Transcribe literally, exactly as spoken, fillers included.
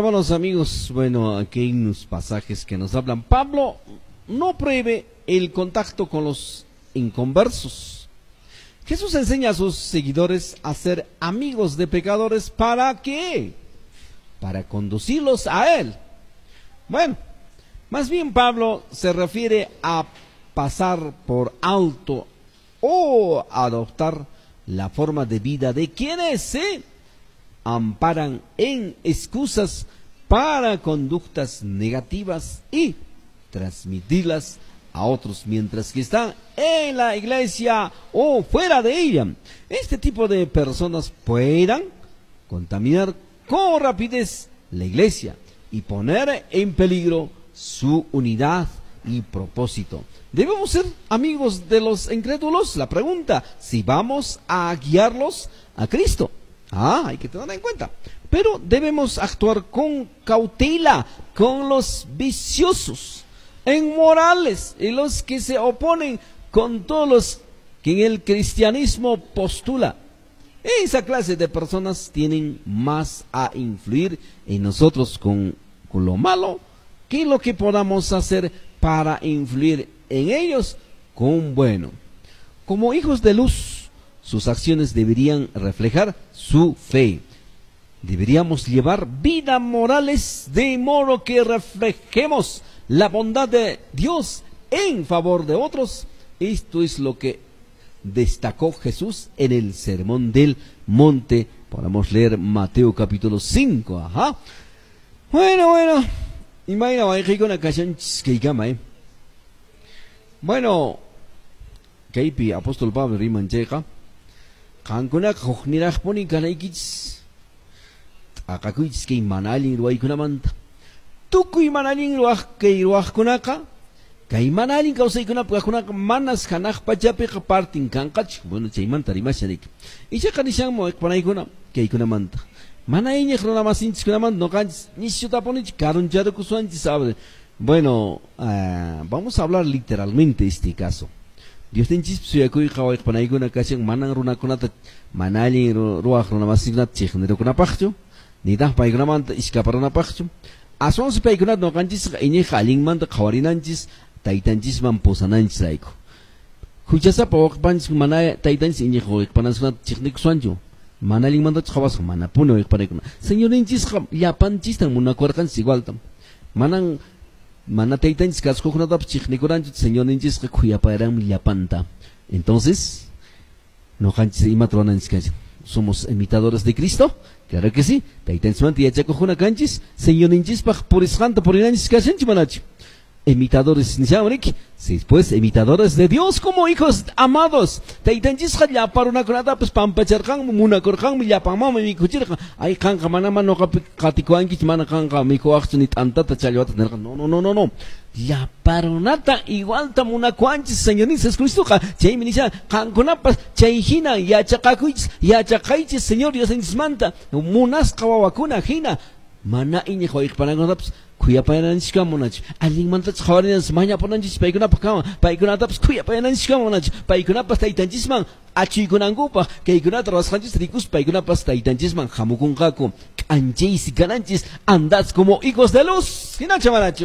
hermanos, amigos, bueno, aquí hay unos pasajes que nos hablan. Pablo no prohíbe el contacto con los inconversos. Jesús enseña a sus seguidores a ser amigos de pecadores. ¿Para qué? Para conducirlos a Él. Bueno, más bien Pablo se refiere a pasar por alto o adoptar la forma de vida de quienes se amparan en excusas para conductas negativas y transmitirlas a otros mientras que están en la iglesia o fuera de ella. Este tipo de personas puedan contaminar con rapidez la iglesia y poner en peligro su unidad y propósito. ¿Debemos ser amigos de los incrédulos? La pregunta, si vamos a guiarlos a Cristo. Ah, hay que tener en cuenta. Pero debemos actuar con cautela con los viciosos, inmorales y los que se oponen con todos los que en el cristianismo postula. Esa clase de personas tienen más a influir en nosotros con, con lo malo que lo que podamos hacer para influir en ellos con bueno. Como hijos de luz, sus acciones deberían reflejar su fe. Deberíamos llevar vida morales de modo que reflejemos la bondad de Dios en favor de otros. Esto es lo que destacó Jesús en el Sermón del Monte. Podemos leer Mateo capítulo cinco. Ajá. Bueno, bueno. Imagina, una canción que eh. Bueno, kaypi apóstol Pablo riman chayqa, qankunaqa hukniraqpuni kanaykichis, t'aqakuychis kay mana allin ruwaykunamanta. Tukuy mana allin ruwaq kay ruwaqkunaqa, kay mana allin kawsaykunapi kaqkunaqa manas hanaq pachapiqa partin kanqachu. Bueno, chaymanta rimashan riki. Ichaqa nishanmu panaykuna kaykunamanta. Mana iñiq runamasinchikkunamanta ñuqanchis nishutapunichu karuncharukusunchis. Bueno, uh, vamos a hablar literalmente este caso. Diosninchis suyakuyqa wayqpanaykuna kashan manan runakunata mana allin ruwaq runamasinkunata chiqnirukunapaqchu, nitaq paykunamanta iskaparanapaqchu. Aswansi paykunata ñuqanchisqa iñiqqa allinmanta qhawarinanchis taytanchisman pusananchis rayku. Huchasapa wayqpanchis mana taytanchis iñiq wayqpananchikkunata chiqnikusunchu. Mana allinmantachu qhawasqa manapuni wayqpanaykuna. Señorninchisqa llapanchistan munakuwarqanchis igualtam. Manan mana taytanchis kasukuqkunatapas chiqnikuranchu, Señorninchisqa khuyapayaranmi llapanta. Entonces, ñuqanchis imata ruwananchis kashan. ¿Somos imitadores de Cristo? Claro que sí. Taytanchismanta yachakuqkuna kanchis, Señorninchispaq purisqanta purinanchis kashanchis manachu. Imitadores nishawan, sí, pues imitadores de Dios como hijos amados. Taytanchisqa llapa runakunatapas pampacharqanmi, munakurqanmi, llapanmanmi mikhuchirqan. Ay, qanqa mana ñuqapi qatikuwankichu, mana qanqa mikhuwaqchu ni t'antata challwata nirqan. No, no, no, no, no. Llapa runata igualta munakuwanchis Señorninchis Jesucristoqa. Chaymi nishan qankunapas chay hina yachaqakuychis, yachaqaychis Señor Diosninchismanta munasqa wawakuna hina. Mana iñiq wayqpanakunatapas khuyapayananchis munachu. Allinmantachu qhawarinanchis, mañapunanchis paykunapaq kama, paykunatapas khuyapayananchis munachu. Paykunapas taytanchisman achuykunankupaq, kaykunata ruwasqanchis rikuspa paykunapas taytanchisman hamukunqaku. K'anchaysi kananchis, andad como hijos de luz. Hinacha manachu.